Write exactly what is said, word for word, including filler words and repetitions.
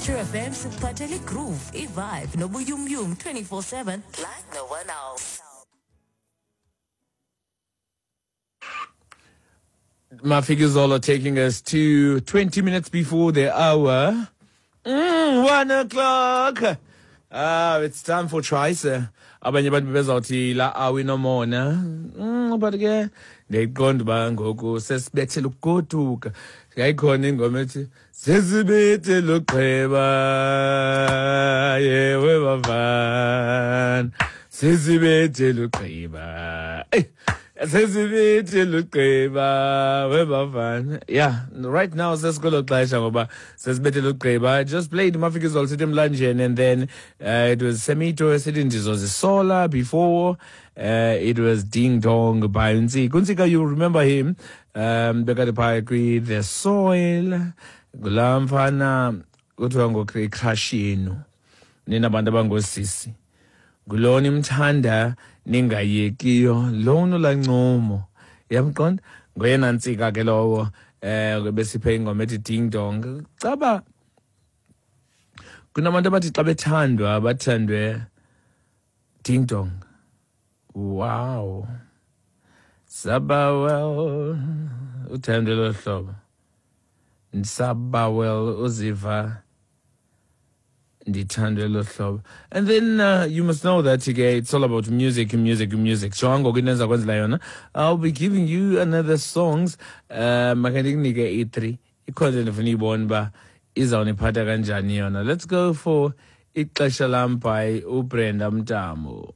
True F M sikuphathela igroove, ivibe nobuyumyum twenty-four seven like no one else. Mafikizolo taking us to twenty minutes before the hour. Mm, one o'clock. Ah, uh, it's time for Trice. Abanye abantu bezawuthi la awi nomona. Mm, but ke ndiyayiqonda uba ngoku sesibethela ukugoduka. Yayikhona ingoma ethi sesibethela ugqiba yewe bavana. Sesibethela ugqiba. Hey. Yeah, right now sesikwelo xesha ngoba sesibethele ugqiba. I just played Mafikizolo sithi emlanjeni, and then uh, it was Semito esithi ndizozisola. Before uh, it was Ding Dong by Ntsika. Ntsika, you remember him? Um, bekade phaya kwi The Soil. Ngulaa mfana kuthiwa ngocrush yenu nina bantu abangosisi. Ngulona imthanda ningayekiyo lona lancomo. Yamqonda? Ngoyena Ntsika ke lowo eh besiphe ingoma ethi Ding Dong. Caba kunabantu abathi xa bethandwa bathandwe Ding Dong. Wow. Sabawel uthandwe lo hlobo. Sabawel uziva ndithandwe lo hlobo. And then uh, you must know that okay, it's all about music, music, music. So ngoku into endiza kwenzela yona, I'll be giving you another songs. Uh, make ndikunike i-three. Ikhona endifuna uyibona uba izawuniphatha kanjani yona. Let's go for Ixesha Lam by uBrenda Mtambo.